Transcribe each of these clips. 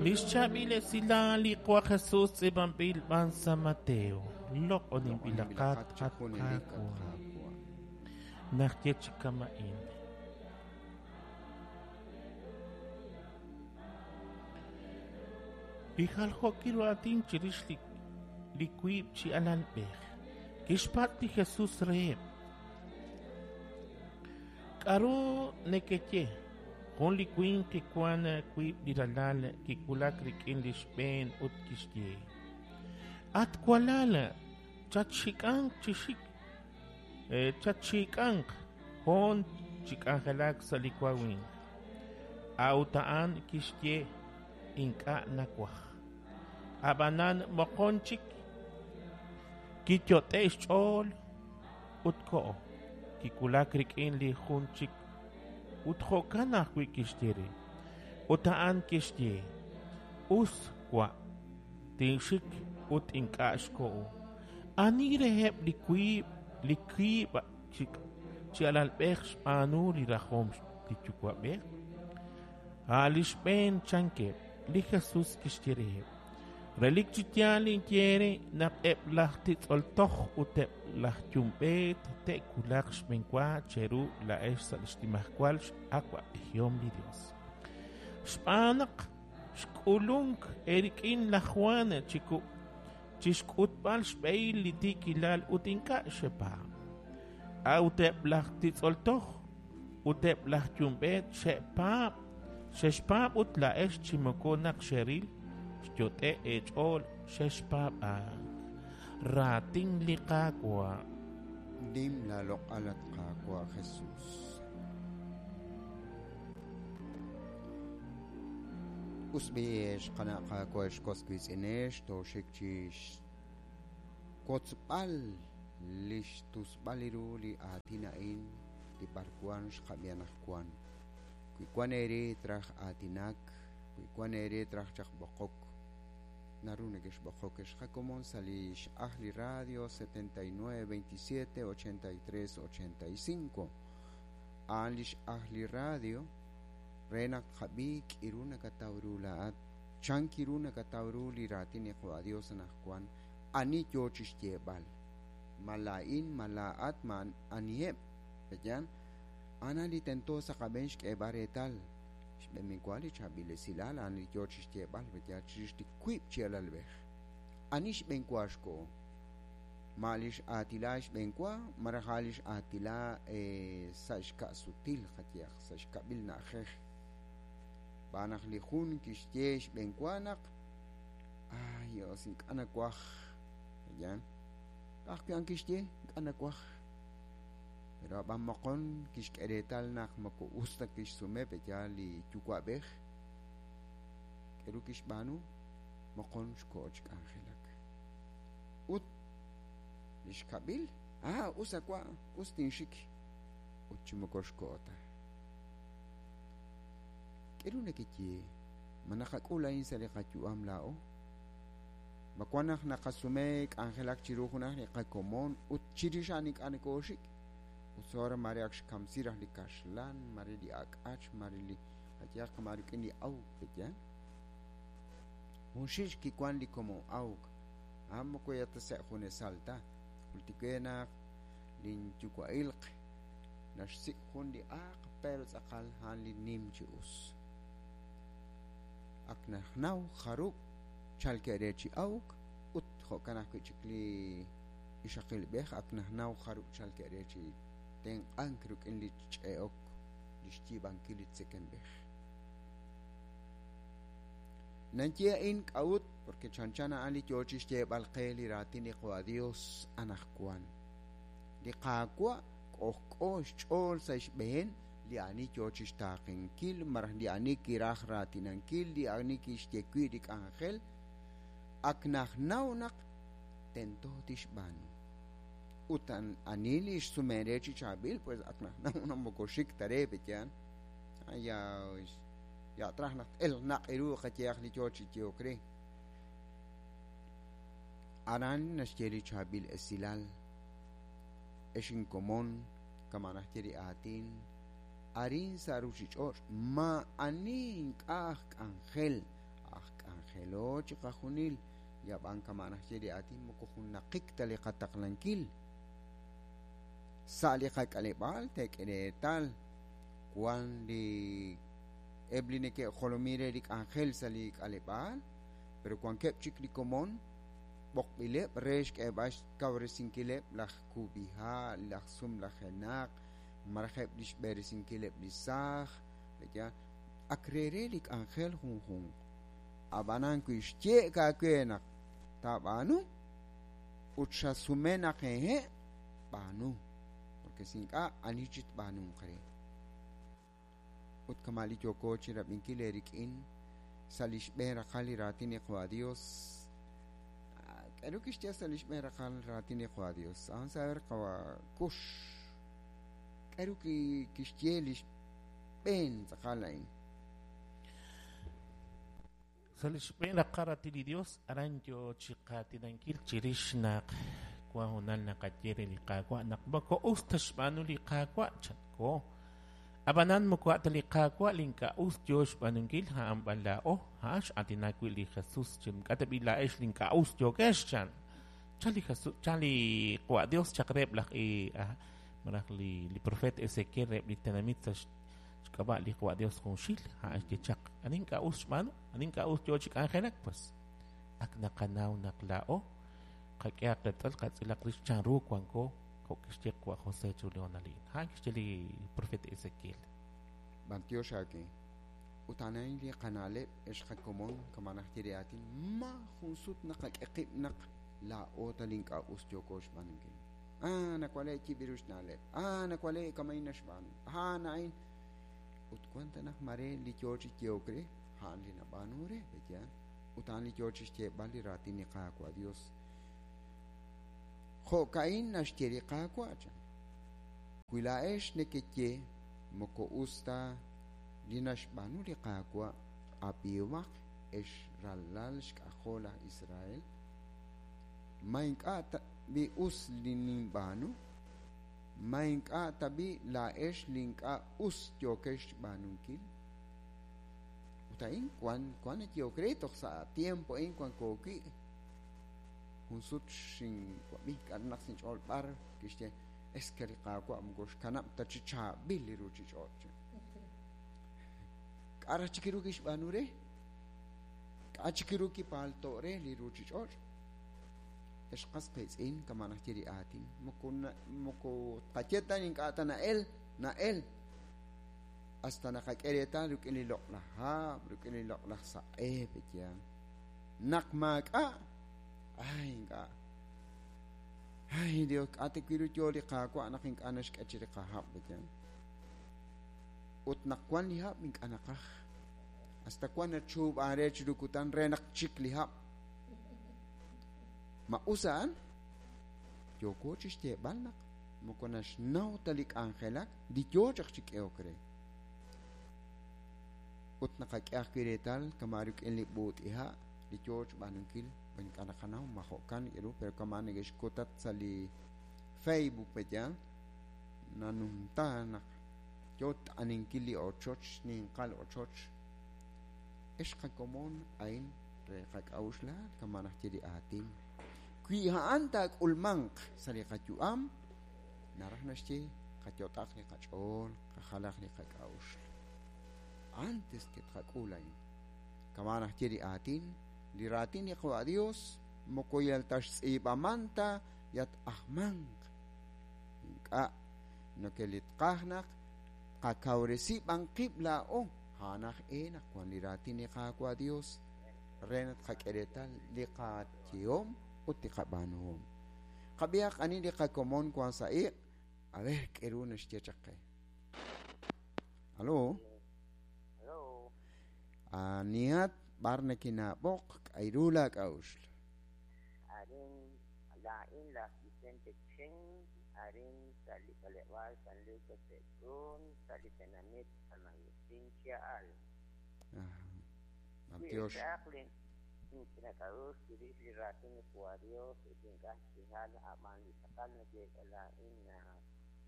Li xchaab'il esilal li Qaawa' Jesus tz'iib'anb'il b'an sa' Mateo. Loq'oninb'ilaqat Loq'oninb'ilaqat chi at junelik, at Qaawa'. Qaawa'. Naxye chi kama'in. Li jaljookil ru aatin chirix li li wiib' chi alalb'ej. Kixpatz' li Jesus reheb': K'aru nekeye? Jun li winq kiwank wiib' li ralal kiwulak rik'in li xb'een ut kixye: At walal, chatxik'anq chi xik, chatxik'anq hoon chi k'anjelak sa' li wawimq. A'ut a'an kixye: Ink'a' nawaj. Ab'anan moqon chik kiyot'e' xch'ool ut koho. Kiwulak rik'in li jun chik ut jo'kan ajwi' kixye re. Ut a'an kixye: Us wa', tinxik ut ink'a' xkoho. Ani reheb' li wiib' li wiib' chi alalb'ej xb'aanu li rajom li yuwa'b'ej? A' li xb'een, chankeb'. Li Jesus kixye reheb': Relik chi yaal ninye eere naq eb' laj titz'ol toj ut eb' laj yumb'eet te'wulaq xb'enwa cheru laa'ex sa' li xnimajwal x'awab'ejihom li Yos. Xb'aan naq xk'ulunk eerik'in laj Jwan chi xk'utb'al xb'ehil li tiikilal ut ink'a' xepaab'. A'ut eb' laj titz'ol toj ut eb' laj yumb'eet xe'paab', xexpaab' ut laa'ex chi moko naq xeril xyot'e' eech'ool xexpaab'ank. Raatin li Qaawa'. Nim laaloq'al, at Qaawa' Jesus. Us b'i' ex qana' Qaawa' ex was wiitz'inex, tooxik chi xwotzb'al li xtusb'al ru li aatin a'in li b'arwan xqab'i anaqwan. Wi wan eere traj aatinak, wi wan eere traj chaq b'oqok, naru nekexb'oqok ex qakomon sa' li x'aj li radio 79 27 83 85. A'an li x'aj li radio re naq tqab'i k'iru nakataw ru laa'at, chan kiru nakataw ru li raatin li Qaawa' Dios anaqwan, ani yo chi xyeeb'al. Ma laa'in, ma laa'at, ma aniheb', pe'yaal? A'an li tento sa' qab'een xk'eeb'al reetal. Xb'een wa li chaab'il esilal a'an li yo chi xyeeb'al, pe'yaal, chirix li wiib' chi alalb'ej. Ani xb'een wa xkoho? Ma li x'aatila xb'een wa, malaj a' li x'aatila sa' xka'sutil qayehaq, sa' xkab'il na'ajej. Xb'aan naq li jun kixye xb'een wa naq ay, Dios, ink'a' nawaj. Pe'yaal? Ka'ajwi' a'an kixye, ink'a' nawaj. Pero ab'an moqon kixk'e reetal naq moko us ta kixsume pe'yaal li yuwa'b'ej. K'aru kixb'aanu? Moqon xkoho chi k'anjelak. Ut li xkab'il, ah, us a wa', us tinxik. Ut chi moko xkoho ta. K'aru nekeye? Ma naqak'ul a'in sa' li qayu'am laa'o? Ma wan naq naqasume k'anjelak chiru junaq li qakomon ut chirix a'an ink'a' nokooxik? Ut soora mare ak xkamsi raj li kaxlan, mare li ak'ach, mare li qayehaq ma rik'in li awk, pe'yaal? Junxil kiwank li komon awk, a'an moko yal ta sa' junesal ta. Jultik we naq linyuwa'ilq naxsik' jun li aaq pero tz'aqal a'an li nim chi us. Ak naxnaw jarub' chalkeb' re chi awk ut jo'kan ajwi' chik li ixaqilb'ej ak naxnaw jarub' chalkeb' re chi tenq'ank rik'in li ch'e'ok, li xyiib'ankil li tzekemb'ej. Naye a'in k'a'ut, porque chanchan a'an li yo chi xyeeb'al qe li raatin li Qaawa' Dios anaqwan. Li Qaawa' k'ojk'o xch'ool sa' xb'een li ani yo chi xtaaqenkil malaj li ani kiraj raatinankil, li ani kixye wi' li k'anjel, ak naxnaw naq tento tixb'aanu. Ut ani li xsumen re chi chaab'il, pues ak naxnaw naq moko xik ta re, pe'yaal? Ya ya traj naq t'elq naq' ru qayehaq li yo chi yehok re. Aran naxye li chaab'il esilal, ex inkomon, kama' naxye li aatin, arin sa' ruuchich'och' maa'ani ink'a' aj k'anjel, aj Aajelo chiqajunil, yab'an kama' naxye li aatin moko junnaqik ta li qataqlankil. Sa' li qak'aleb'aal teek'e reetal wan li eb' li neke'jolomin re li k'anjel sa' li k'aleb'aal, pero wankeb' chik li komon b'oqb'ileb' re xk'eeb'al xkawresinkileb' laj kub'iha', laj sumlajenaq, malaj eb' li xb'eresinkileb' li saaj, ya ak re li k'anjel junjunq. Ab'anan wi xye'k aawe naq taab'aanu ut xasume naq hehe', b'aanu, porque si ink'a' ani chi tb'aanunq re. Ut kama' li yooko chi rab'inkil eerik'in sa' li xb'een raqal li raatin li Qawa' Dios. K'aru kixye sa' li xb'een raqal raatin li Qawa' Dios? A'an saber Qawa' Kux. K'aru kixye li xb'een tz'aqal a'in? Sa' li xb'een raqal raatin li Dios, aran yo chi qaatinankil chirix naq wan honal naqaye re li Qaawa' naq moko us ta xb'aanu li Qaawa' chanko. Ab'anan moko a' ta li Qaawa' li ink'a' us yo xb'aanunkil, a'an b'an laa'o, a'an x'aatinak wi' li Jesus chi ink'a' ta b'i' laa'ex li ink'a' us yookex chan. Chan li Jesus, chan li Qawa' Dios chaq reheb' laj malaj li profeet Ezequiel reheb' li tenamit sa' xk'ab'a' li Qawa' Dios junxil, a'an xye chaq, ani ink'a' us xb'aanu, ani ink'a' us yo chi k'anjelak, pues ak naqanaw naq laa'o qak'ehaq reetal qatz'ilaq rix chanru wanko jo' kixye Qawa' José chiru li honal a'in. A'an kixye li profeet Ezequiel. B'antiox aawe. Ut a'an a'in li qana'leb' ex qakomon kama' naxye li aatin, ma jun sut naqak'e qib' naq laa'o ta li ink'a' us yooko xb'aanunkil. Nawale' yib' ru xna'leb'. Nawale' kama'in naxb'aanu. A'in. Ut wan ta naq mare li yo chi yehok re, a'an li nab'aanu re, pe'yaal. Ut a'an li yo chi xyeeb'al li raatin li Qaawa' Dios. Jo'ka'in naxye li Qaawa' chan. Wi laa'ex nekeye moko us ta li naxb'aanu li Qaawa' ab'ihomaq ex ralal xk'ajol laj Israel, ma ink'a' ta b'i us li ninb'aanu, ma ink'a' ta b'i laa'ex li ink'a' us yookex xb'aanunkil. Ut a'in wan nayehok re toj sa' tiempo a'in wanko wi'. Jun sut xinwab'i k'aru naq sinch'ool b'ar kixye es que li Qaawa' moko xkanab' ta chi chaab'il li ruuchich'och'. K'a' raj chik ru kixb'aanu re? K'a' chik ru kipaalto' re li ruuchich'och'? Ex qas qiitz'in kama' naxye li aatin moko tqaye ta ink'a' ta na'el na'el hasta naqak'e reetal rik'in li loq'laj hab', rik'in li loq'laj saq'e, pe'yaal. Naq maak'a', ay ink'a'. Ay Dios, k'a' ta wi' ru yo li Qaawa' naq ink'a' naxk'e chi li qahab', pe'yaal. Ut naq wan li hab' ink'a' naqaj. Hasta wan nachuub'an re chiru kutan re naq chik li hab'. Ma us a'an? Yooko chi xyeeb'al naq moko naxnaw ta li k'anjelak li yo chaq chi k'ehok re. Ut naqak'e ajwi' reetal kama' rik'in li b'uut'iha' li yo xb'aanunkil, ink'a' naqanaw ma jo'kan ru, pero kama' neke'xkutat sa' li Facebook pe'yaal, nanumta naq yo t'aninkil li ochoch, ninqal ochoch. Ex qakomon a'in re qak'a'uxlaal kama' naxye li aatin. Wi a'an taak'ulmanq sa' li qayu'am, naraj naxye qayot'aq li qach'ool, qajalaq li qak'a'uxl. Antes que tqak'ul a'in. Kama' naxye li aatin, li raatin li Qawa' Dios moko yal ta xtz'iib'aman ta yat-ajmanq. Ink'a' noke li tqaj naq qakawresi b'an qib' laa'o, a'an aj e naq wan li raatin li Qaawa' Dios re naq tqak'e reetal li qayehom ut li qab'aanuhom. Qab'ihaq ani li qakomon wan sa' iq', a ver k'e ru naxye chaq qe. Aló? Aló. Anihat b'ar nakinaab'oq k'ayru laak'a'uxl. Arin laa'in laj Vicente Chen, arin sa' li k'aleb'aal San Lucas de Cruz, sa' li tenamit San Agustín Chia'al. B'antiox. Inch'inak'a'uxl chirix li raatin li Qawa' Dios ut ink'a' xjal a'b'an li tz'aqal nayeek'a laa'in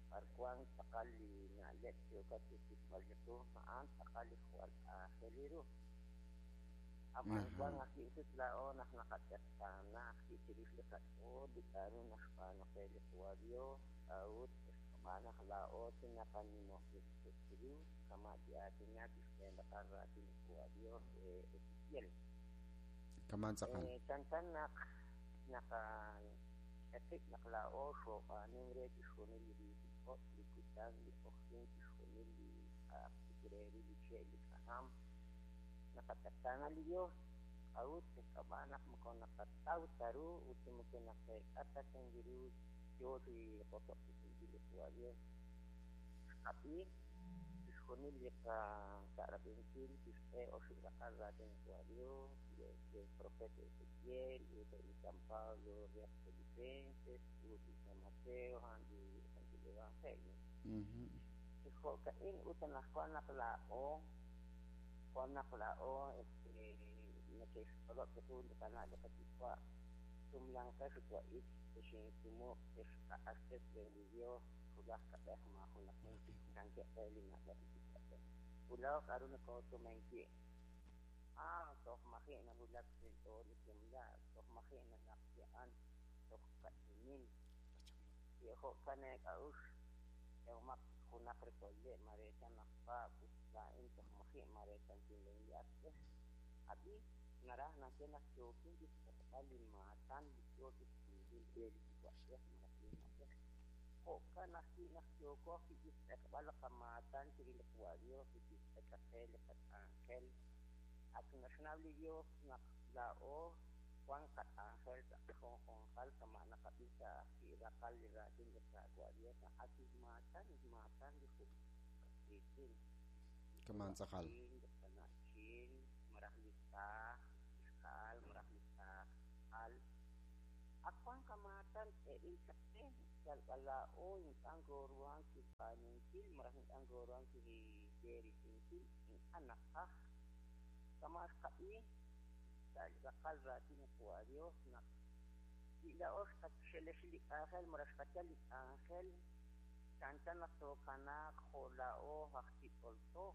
b'ar wan tz'aqal li na'leb' yookat chi xsik'b'al chiqu, a'an tz'aqal li jwal aajel ru. Ab'an wan ajwi' sut laa'o naq naqatz'eqtaana ajwi' chirix li qach'ool li k'a'ru naxb'aanu qe li Qawa' Dios, k'a'ut xb'aan naq laa'o chi naqanimob'resi qib' chiru, kama' ki'aatinak li xb'een raqal raatin li Qawa' Dios Ezequiel. Kaman tz'aqal. Chanchan naq naqak'e qib' naq laa'o xoob'aanunk re chixjunil li ruuchich'och', li kutan, li q'oqyink, chixjunil li k'a'aq chik re ru li che', li k'ajam. Naqatz'eqtaana li Dios, k'a'ut xk'ab'a' naq moko naqataw ta ru ut moko naqeek'a ta chan ru yoo chi qosob'tesinkil li Qawa' Dios. Xqab'i chixjunil li qacha'rab'inkil kixk'e oxib' raqal raatin li Qawa' Dios, li profeta Ezequiel, ut li San Pablo re aj Filipenses, ut li San Mateo, a'an li Santil Evangelio. Chi jo'ka'in ut anaqwan naq laa'o wan naq laa'o este neke'xch'olob' chiqu li qana' li qayuwa', sumlanqex ut wa'ik, texinsumoq, texq'axtes re li Dios, wulaj kab'ej maajunaq chankeb' re li na'leb' li yuwa'b'ej. Ut laa'o k'a'ru nokoosumen wi'? Ah, toj maji' nawulak sa' inch'ool li sumlaak, toj maji' nanaq li a'an, toj ka'ch'inin. Wi jo'kan eek'a'uxl, k'ehomaq chik junaq rekoleb' mare chan laj Pablo ut laa'in toj maji' mare chankin li asb'ej. Ab'i, naraj naxye naq yookin chixk'utb'al li maatan li yoo chixk'ulb'il re li yuwa'b'ej malaj li na'b'ej. Jo'kan ajwi' naq yooko ajwi' chixtz'eqb'al li qamaatan chiru li Qawa' Dios li kixk'e chaq qe li qak'anjel. Ak naxnaw li Dios naq laa'o wan qak'anjel sa' qajunjunqal kama' naqab'i sa' ajwi' raqal li raatin li Qaawa' Dios naq ak maatan maatan li qas-qiitz'in. Kaman tz'aqal. Li qana'chin, malaj li saaj ixqa'al, malaj li saaj al. Ak wan qamaatan k'eeb'il chaq qe, yal b'an laa'o ink'a' nkooruhank chixb'aanunkil malaj ink'a' nkooruhank chixb'eresinkil, ink'a' naqaj. Kama' xqab'i sa' li raqal raatin li Qawa' Dios naq wi laa'o xqaxelex li k'anjel malaj xqayal li k'anjel, chanchan naq tookanaaq jo' laa'o aj titz'ol toj.